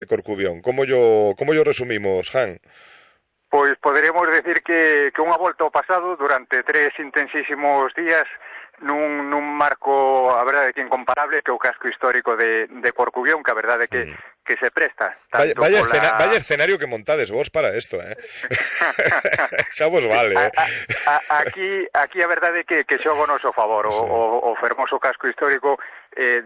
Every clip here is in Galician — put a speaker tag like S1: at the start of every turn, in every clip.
S1: de Corcubión? Como yo resumimos, Jan?
S2: Pois poderíamos decir que unha volta ao pasado durante 3 intensísimos días nun marco, a verdade, que incomparable, que é o casco histórico de Corcubión, que a verdade que se presta tanto
S1: Vaya escenario que montades vos para isto, xa vos vale,
S2: Aquí a verdade é que xoga o noso favor,
S1: sí.
S2: o fermoso casco histórico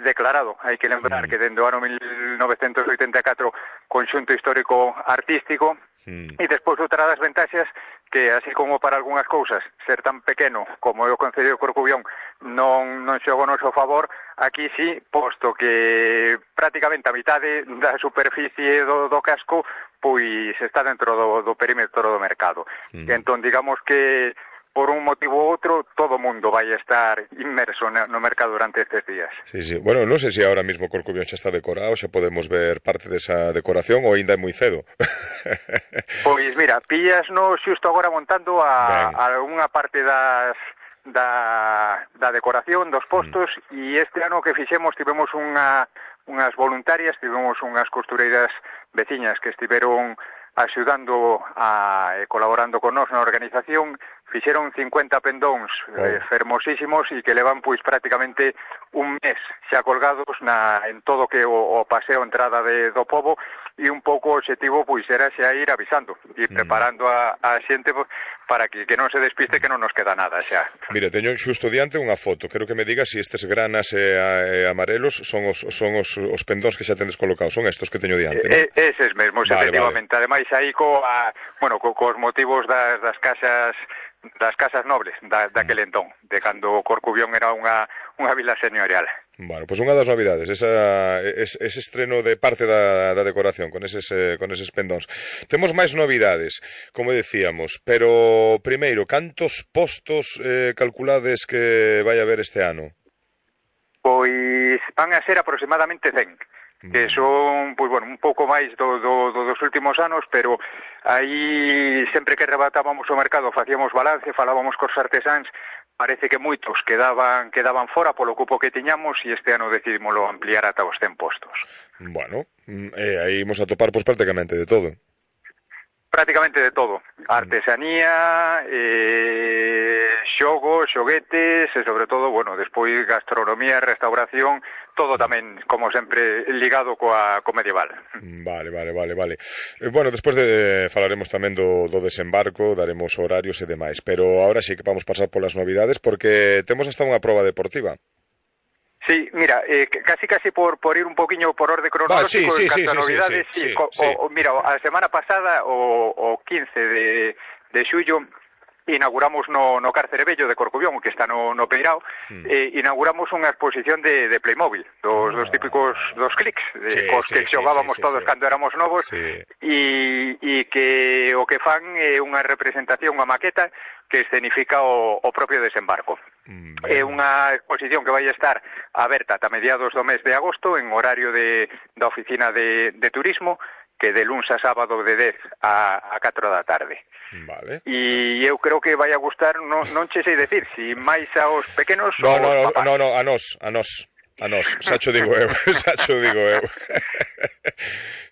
S2: declarado, hai que lembrar que dende o ano 1984 conxunto histórico artístico. E despois outra das ventaxas que, así como para algunhas cousas ser tan pequeno como é o Concello de Corcubión non xoga o noso favor, aquí sí, posto que prácticamente a mitade da superficie do casco pois está dentro do perímetro do mercado. Entón, digamos que por un motivo ou outro, todo o mundo vai estar inmerso no mercado durante estes días.
S1: Sí, sí. Bueno, non sei se ahora mismo Corcubión xa está decorado, xa podemos ver parte desa decoración ou ainda é moi cedo.
S2: Pois mira, pillasnos xusto agora montando algunha parte da decoración dos postos e este ano que fixemos tivemos unhas voluntarias, tivemos unhas costureiras veciñas que estiveron axudando e colaborando con nós na organización. Fixeron 50 pendóns fermosísimos e que levan pois prácticamente un mes xa colgados en todo que o paseo entrada do pobo, e un pouco o objetivo pois era xa ir avisando e preparando a xente para que non se despiste, que non nos queda nada xa.
S1: Mira, teño xusto diante unha foto, quero que me digas se estes granas e amarelos son os pendóns que xa tendes colocados, son estos que teño diante, non?
S2: Eses mesmos,
S1: vale,
S2: efectivamente.
S1: Vale.
S2: Ademais aí cos motivos das casas nobles daquele entón, de cando Corcubión era unha vila señorial.
S1: Bueno, pois unha das novidades, ese estreno de parte da decoración con eses pendóns. Temos máis novidades, como decíamos, pero primeiro, cantos postos calculades que vai haber este ano?
S2: Pois van a ser aproximadamente 100. Que son, pois bueno, un pouco máis dos últimos anos, pero aí sempre que rebatábamos o mercado facíamos balance, falábamos cos artesáns, parece que moitos quedaban fora polo cupo que tiñamos e este ano decidimoslo ampliar ata os 100 postos.
S1: Bueno, aí imos a topar pois prácticamente de todo.
S2: Prácticamente de todo. Artesanía, xoguetes e sobre todo, bueno, despois gastronomía, restauración, todo tamén, como sempre, ligado co medieval.
S1: Vale. Bueno, despois falaremos tamén do desembarco, daremos horarios e demais, pero ahora sí que vamos pasar polas novidades porque temos hasta unha proba deportiva.
S2: Sí, mira, casi por ir un poquinho por orde cronológico en canto a novidades, sí. Mira, a semana pasada, o 15 de xullo, inauguramos no Cárcere Vello de Corcubión, que está no Peirao, inauguramos unha exposición de Playmobil, dos típicos dos clics, cos que xogábamos todos cando éramos novos, e que o que fan é unha representación, unha maqueta, que escenifica o propio desembarco. É unha exposición que vai estar aberta ata mediados do mes de agosto en horario da oficina de turismo, que de luns a sábado de 10 a 4 da tarde.
S1: Vale.
S2: E eu creo que vai a gustar, non che sei decir, si máis aos pequenos
S1: ou aos papás. No, a nós, xa cho digo eu.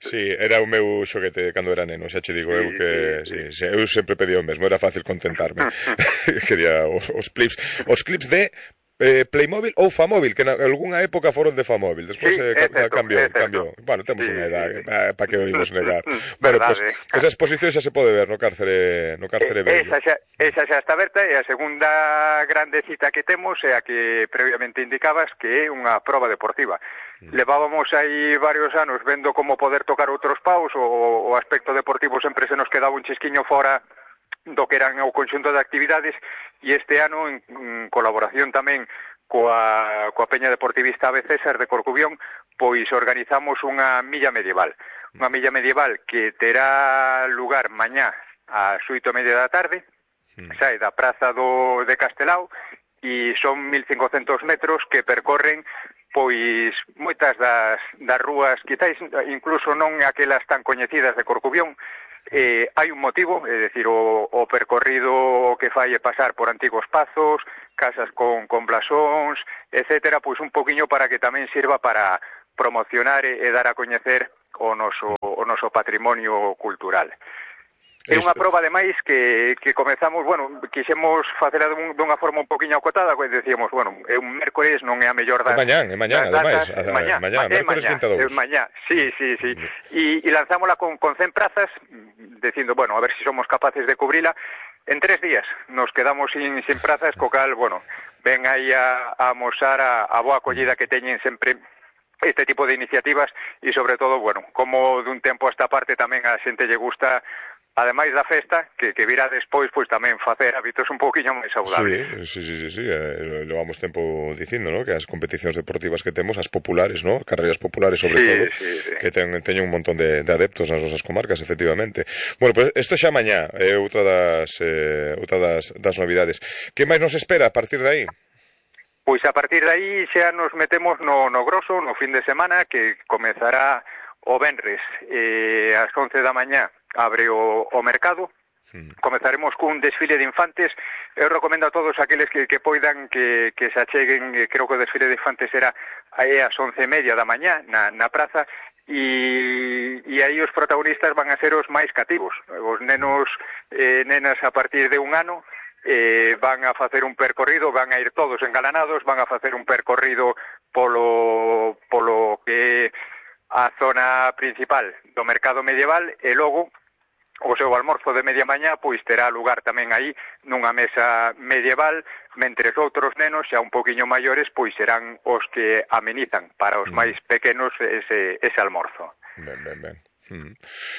S1: Sí, era o meu xoguete cando era neno, xa che digo eu que sí, eu sempre pedía o mesmo, era fácil contentarme. Quería os clips de Playmobil ou Famóvil, que en algunha época foron de Famóvil, despois cambiou. Bueno, temos unha edade, para que o imos negar. Bueno, pues, esa exposición xa se pode ver no Cárcere Vello.
S2: Esa xa está aberta, e a segunda grande cita que temos é a que previamente indicabas, que é unha proba deportiva. Levábamos aí varios anos vendo como poder tocar outros paus, o aspecto deportivo sempre se nos quedaba un chisquiño fora do que eran o conxunto de actividades, e este ano, en colaboración tamén coa Peña Deportivista Ave César de Corcubión, pois organizamos unha milla medieval. Unha milla medieval que terá lugar mañá ás 8:30 da tarde, sae da praza de Castelao, e son 1500 metros que percorren pois moitas das rúas, quizáis incluso non aquelas tan coñecidas de Corcubión. Hai un motivo, é dicir, o percorrido que fai é pasar por antigos pazos, casas con blasóns, etcétera, pois un poquinho para que tamén sirva para promocionar e dar a coñecer o noso patrimonio cultural. É unha proba, ademais, que comezamos, bueno, quixemos facela dunha forma un poquinho acotada, que decíamos, bueno, é un mércores, non é a mellor das...
S1: É mañán, ademais.
S2: Mañá,
S1: mércores 22.
S2: Mañá, sí. E lanzámola con 100 prazas, dicindo, bueno, a ver se somos capaces de cubrila. En 3 días nos quedamos sin prazas, co cal, bueno, ven aí a amosar a boa acollida que teñen sempre este tipo de iniciativas e, sobre todo, bueno, como dun tempo a esta parte tamén a xente lle gusta, ademais da festa, que virá despois, pois tamén facer hábitos un poquinho máis saudables.
S1: Sí, levamos tempo dicindo, ¿no? Que as competicións deportivas que temos, as populares, ¿no? Carreras populares, sobre todo, que teñen un montón de adeptos nas nosas comarcas, efectivamente. Bueno, pues isto xa mañá é outra das novidades. Que máis nos espera a partir de aí?
S2: Pois a partir de aí xa nos metemos no groso, no fin de semana, que comezará o venres ás 11 da mañá, abre o mercado. Comezaremos cun desfile de infantes. Eu recomendo a todos aqueles que poidan que se acheguen. Creo que o desfile de infantes será aí ás 11:30 da mañá na praza, e aí os protagonistas van a ser os máis cativos, os nenos nenas a partir de 1 ano. Van a facer un percorrido, van a ir todos engalanados, van a facer un percorrido polo que a zona principal do mercado medieval, e logo o seu almorzo de media mañá pois terá lugar tamén aí nunha mesa medieval, mentres outros nenos xa un poquinho maiores pois serán os que amenizan para os máis pequenos ese almorzo.
S1: Ben.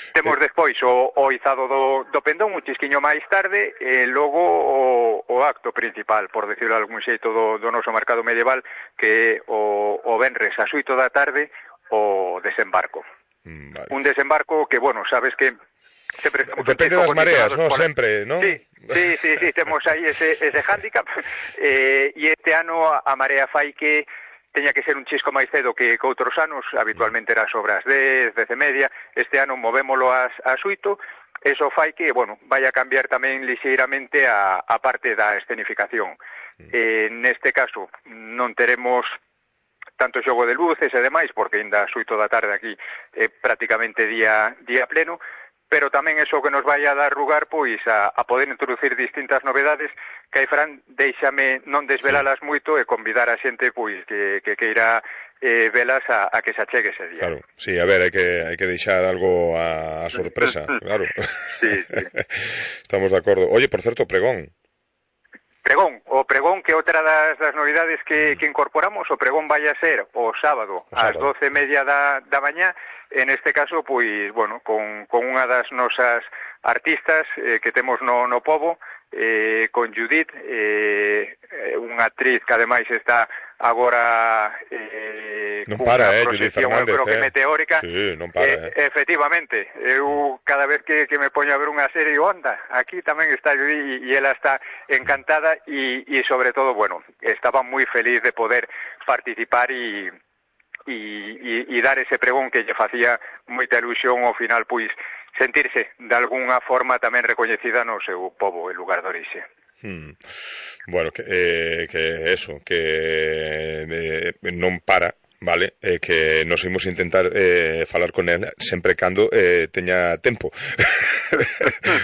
S2: Temos despois o izado do pendón un chisquiño máis tarde, e logo o acto principal, por decirlo de algún xeito, do noso mercado medieval, que é o venres ás 8 da tarde, o desembarco.
S1: Vale.
S2: Un desembarco que, bueno, sabes que sempre
S1: depende das mareas, ¿no? Sempre, ¿no?
S2: Sí, temos aí ese hándicap, e este ano a marea fai que teña que ser un chisco máis cedo que outros anos, habitualmente era sobre as 10, 10:30, este ano movémolo ás 8, eso fai que, bueno, vai a cambiar tamén lixeiramente a parte da escenificación. Neste caso non teremos tanto xogo de luces e demais, porque ainda ás 8 da tarde aquí é prácticamente día pleno, pero tamén eso que nos vai a dar lugar pois a poder introducir distintas novedades que aí, Fran, déixame non desvelalas moito e convidar a xente pois que queira velas a que se achegue ese día.
S1: Claro, sí, a ver, hai que deixar algo a sorpresa, claro.
S2: Sí.
S1: Estamos de acordo. Oye, por certo, pregón,
S2: o pregón, que outra das novidades que incorporamos, o pregón vai a ser o sábado ás 12:30 da mañá, en este caso, pois, bueno, con unha das nosas artistas que temos no pobo, con Judith, unha actriz que ademais está agora
S1: non para,
S2: Judith
S1: Fernández,
S2: eu creo que meteórica.
S1: Sí, non para,
S2: Efectivamente, eu cada vez que me poño a ver unha serie, onda, aquí tamén está Judith, e ela está encantada, e sobre todo, bueno, estaba moi feliz de poder participar e dar ese pregón que lle facía moita ilusión ao final, pois, sentirse de algunha forma tamén recoñecida no seu pobo e lugar de orixe.
S1: Bueno, que eso, que non para, vale, que nos imos intentar falar con ela sempre cando teña tempo,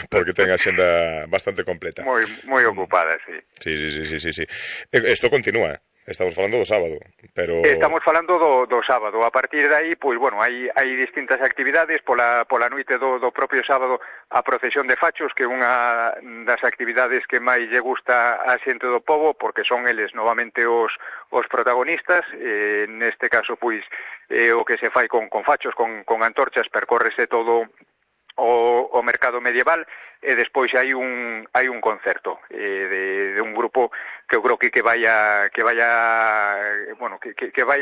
S1: porque ten a xenda bastante completa.
S2: Moi ocupada, sí.
S1: Sí. Isto continúa. Estamos falando do sábado, pero...
S2: Estamos falando do sábado. A partir de aí, pois, bueno, hai distintas actividades. Pola noite do propio sábado, a procesión de fachos, que é unha das actividades que máis lle gusta a xente do pobo, porque son eles novamente os protagonistas. Neste caso, pois, o que se fai con fachos, con antorchas, percórrese todo o mercado medieval, e despois hai un concerto de un grupo que eu creo que vai a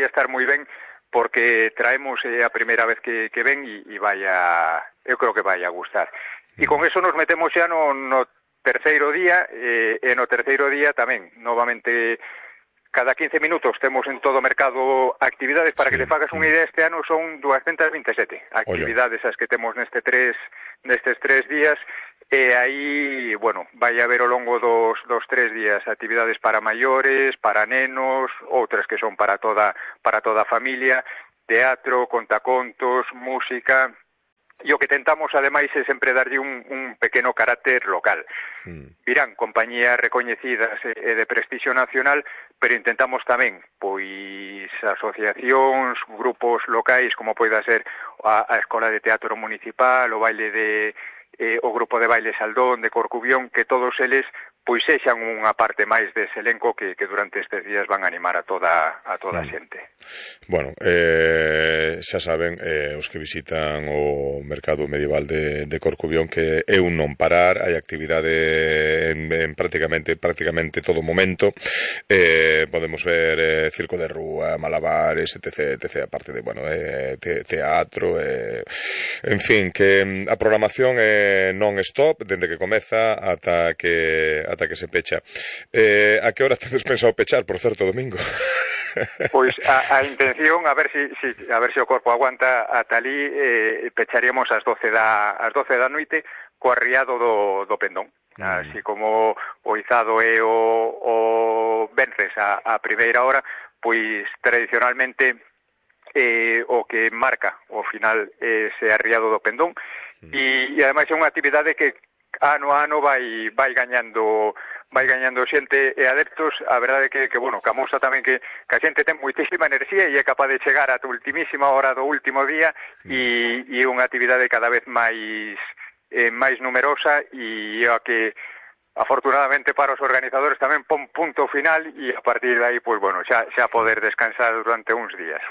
S2: estar moi ben, porque traemos a primeira vez que ven, e eu creo que vai a gustar. E con eso nos metemos xa no terceiro día, e no terceiro día tamén, novamente, cada 15 minutos temos en todo o mercado actividades. Para que te fagas unha idea, este ano son 227 actividades as que temos nestes 3 días, e aí, bueno, vai haber ao longo dos 3 días actividades para maiores, para nenos, outras que son para toda a familia, teatro, contacontos, música. E o que tentamos, ademais, é sempre darlle un pequeno carácter local. Virán compañías recoñecidas e de prestixio nacional, pero intentamos tamén, pois, asociacións, grupos locais, como poida ser a Escola de Teatro Municipal, o o grupo de baile Saldón, de Corcubión, que todos eles pois sexan unha parte máis dese elenco que durante estes días van a animar a toda a xente.
S1: Bueno, xa saben, os que visitan o mercado medieval de Corcubión, que é un non parar, hai actividade en prácticamente todo momento. Podemos ver circo de rúa, malabares, etc, aparte de, bueno, teatro, en fin, que a programación é non-stop, dende que comeza ata que se pecha. A que hora tedes pensado pechar, por certo, domingo?
S2: Pois a intención, a ver se o corpo aguanta ata ali, pecharíamos ás 12 da noite co arriado do pendón. Así como o izado é o venres a primeira hora, pois tradicionalmente o que marca o final ese arriado do pendón, e ademais é unha actividade que ano a ano vai gañando xente e adeptos. A verdade é que bueno, que amosa tamén que a xente ten moitísima enerxía e é capaz de chegar a ultimísima hora do último día, e unha actividade cada vez máis numerosa, e a que afortunadamente para os organizadores tamén pon punto final, e a partir de aí, pois bueno, xa poder descansar durante uns días.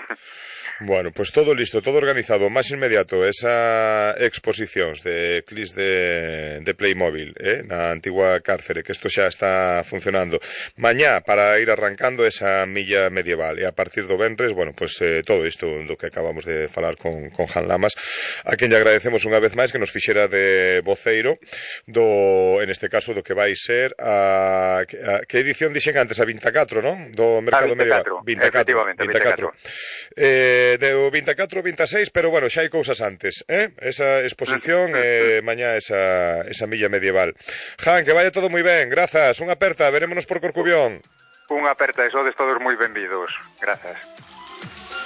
S1: Bueno, pois todo listo, todo organizado. O máis inmediato, esa exposicións de clips de Playmobil, na antigua cárcere, que isto xa está funcionando. Mañá, para ir arrancando esa milla medieval, e a partir do venres, bueno, pois todo isto do que acabamos de falar con Jan Lamas, a quen lle agradecemos unha vez máis que nos fixera de voceiro en este caso, do que vai ser que edición dixen antes, a 24, non? Do mercado medieval.
S2: 24, efectivamente, 24.
S1: De 24 26, pero bueno, xa hai cousas antes, esa exposición, mañá esa milla medieval. Jan, que vaya todo moi ben, grazas, unha aperta, verémonos por Corcubión.
S2: Unha aperta, e sodes todos moi benvidos, grazas.